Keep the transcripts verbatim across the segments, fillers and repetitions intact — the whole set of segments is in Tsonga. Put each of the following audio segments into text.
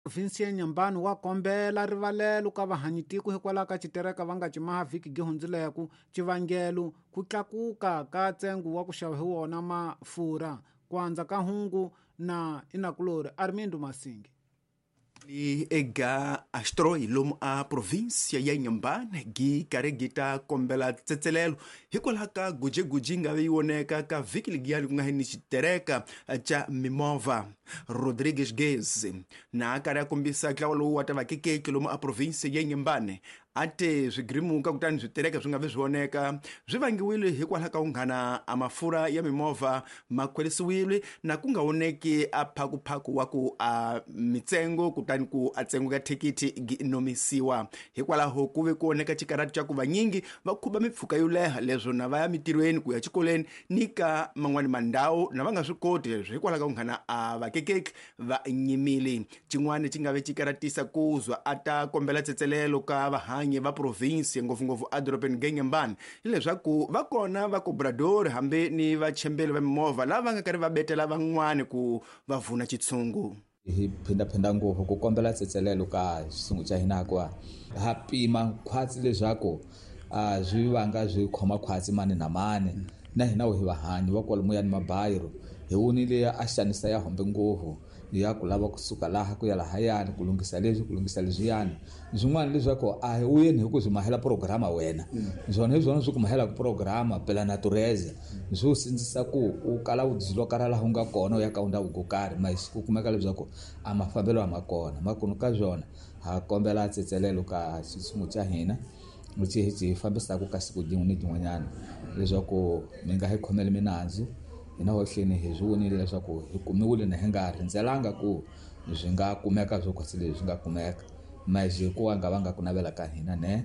Provinsi ya Inhambane wa kombela rivalelo ka vahanyitiko hikwalaho ka xitereka va nga cimaha vhiki gi hundzileko xivangelo ku tlakuka ka ntsengo wa ku xava hi wona mafurha ku andza ka hungu na inakulori Armindo Masingi. Li ega astroi lomu a província ya Inhambane gi karhi gi ta kombela tsetselelo hikwalaho ka gujeguji nga ve yi voneka ka vhiki ligiyani ku nga ni xitereka xa mimovha. Rodrigues Gez na a karhi a kombisa ntlawa lowu wa ta vakekeki lomu a província ya Inhambane a te swigirimuka kutani switereka swi nga vi swi voneka swi vangiwile hikwalaho ka ku nghana a mafurha ya mimovha ma khwerisiwile na ku nga voneki a phakuphaku wa ku a mitsengo kutani ku a tsengo ka thikithi gi nomisiwa. Hikwalaho ku ve ku voneka xikarhati xa ku vanyingi va khuba mipfhuka yo leha leswo na va ya mitirhweni ku ya xikolweni ni ka man'wani mandhawu na va nga swi koti leswo hikwalaho ka ku nghana a vakekeki va nyimile. Xin'wana xi nga ve xikaratisa ku zwa a ta kombela tsetselelo ka vahanyi va provinsi ngopfungopfu edorobeni ga Inhambane hileswaku va kona va cobrador hambi ni vachembeli va mimovha lava va nga karhi va betela van'wani ku va vuna xitshungu. Hi phindaphinda ngopfu ku kombela tsetselelo ka xitshungu xa hina hikuva ha pima khwatsi leswaku a swi vanga swi khoma khwatsi mani na mani na hina hi vahanyi va kwalomuya ni mabayiro hi vonile a xanisa ya hombe ngopfu ya ku lava kusuka laha ku ya lahayani ku lunghisa leswi ku lunghisa leswiyani swin'wana leswaku a hi wuyeni hi ku swi mahela programa wena swona hi swona swi ku mahelaka programa pela natureza swi u sindzisa ku u kala u dzilokara laha u nga kona u ya ka ndhawu ko karhi mas ku kumeka leswaku a mafambelo a ma kona makunu ka swona ha kombela tsetselelo ka xitshungu xa hina lexi hi xi fambisaka ka siku rin'we ni rin'wanyana leswaku mi nga hi khomeli minandzu. Hina hohleni hi swi vonile leswaku hi kumiwile na hi nga rindzelanga ku swi nga kumeka swo khwatsi leswi swi nga kumeka mas hikuva nga va nga ku navela ka hina ne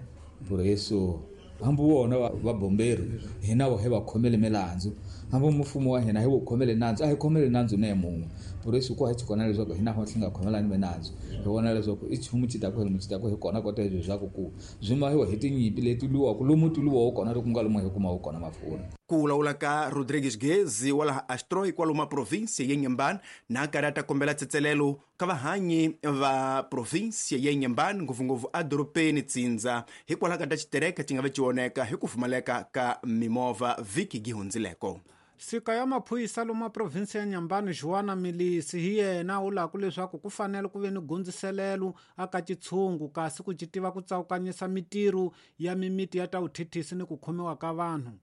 por isso hambi wona va bomberi hina hi va khomele milandzu hambi mfumo wa hina hi wu khomele nandzu a hi khomele nandzu ne mun'we por isso ku hi kona leswaku hina hohle nga khomelani minandzu hi vona leswaku i chumu xi ta ku hi xi ta ku hi kona kota leswaku ku swi mahiwa hi tinyimpi leti lwiwaka lomu ti lwiwaku kona loko ku nga lomu hi kumaka kona mafurha. Ku vulavula ka Rodrigues Gezi wa laha Astroi kwalomu provinsi ya Inhambane na karhi a ta kombela tsetselelo ka vahanyi va provinsi ya Inhambane ngopfungopfu edorobeni Tsindza hikwalaho ka ta xitereka xi nga ve xi voneka hi ku pfumaleka ka mimovha vhiki gi hundzileko. Sika ya maphorisa lomu provinsi ya Inhambane Joana Milisi hi yena u lava leswaku ku fanele ku ve ni gundziselelo aka xitshungu kasi ku ci tiva ku tsawukanyisa mitirho ya mimiti ya ta vuthithisi ni ku khomiwa ka vanhu.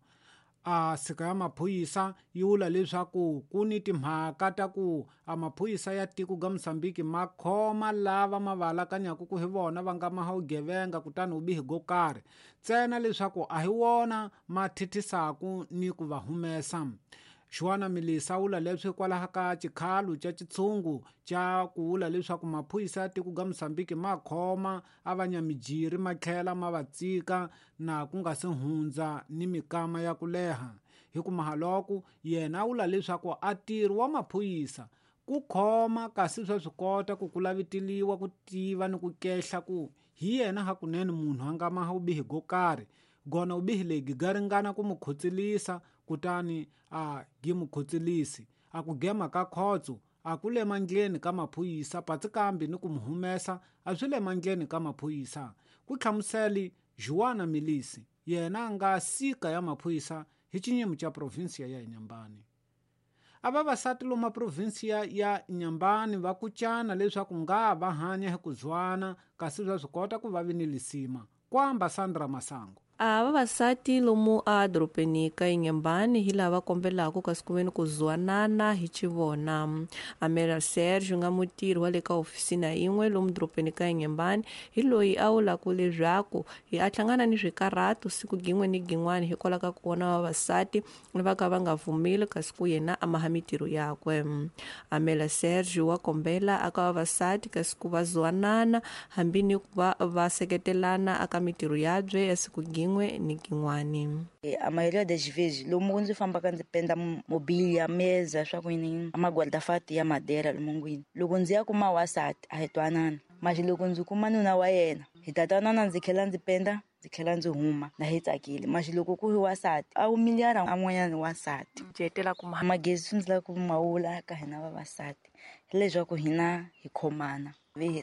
A sika ya maphorisa yi vula leswaku ku ni timhaka ta ku a maphorisa ya tiko ga Mozambique ma khoma lava ma va alakanyaka ku hi vona va nga maha vugevenga kutani vubihi go karhi ntsena leswaku a hi wona ma thithisaku ni ku va humesa. Joana Milisa vula leswi hikwalaho ka xikhalo xa xitshungu xa ku vula leswaku maphorisa ya tiko ga Mozambique ma khoma a va nyamijiri ma tlhela ma va tsika na ku nga se hundza ni mikama ya ku leha. Hi ku mahaloko yena a vula leswaku a ntirho wa maphorisa ku khoma kasi swa swi kota ku ku laviteliwa ku tiva ni ku kehla ku hi yena hakunene munhu a nga maha vubihi go karhi gona vubihi lebyi ga ringana ku mu khotselisa kutani a gi mu khotselisi a ku gema ka khotso a ku le mandleni ka maphorisa patsi kambe ni ku mu humesa a swi le mandleni ka maphorisa ku hlamuseli Joana Milisi yena a nga sika ya maphorisa hi xinyimo xa provinsi ya Inhambane. A vavasati lomu provinsi ya Inhambane va kucana leswaku nga va hanya hi ku zwana kasi swa swi kota ku va vi ni lisima kwamba Sandra Masango. A vavasati lomu a dorobeni ka Inhambane hi lava kombelaka kasi ku veni ku zwanana hi xivona. Amela Sergio nga mutirhi wa le ka ofisina yin'we lomu dorobeni ka Inhambane hi loyi a vulaka leswaku hi a hlangana ni swikarhato siku gin'we ni gin'wana hikwalaho ka ku vona vavasati va ka va nga pfumeli kasi ku yena a maha mitirho yakwe. Amela Sergio wa kombela aka vavasati kasi ku va zwanana hambi ni ku va va seketelana aka mitirho yabye ya siku gin'we ni gin'wani. A maioria das vezes lomu ndzi fambaka ndzi penda mobília mesa swa ku yini maguarda-fato ya madeira lomungwini loko ndzi ya kuma wasati a hi twanana mas loko ndzi kuma nuna wa yena hi ta twanana ndzi tlhela ndzi penda ndzi tlhela ndzi huma na hi tsakile mas loko ku ri wasati a humilhara an'wanyana wasati jetela kuma magezi swi ndzi lava ku mawula ka hina vavasati hileswaku hina hi khomana Ve hi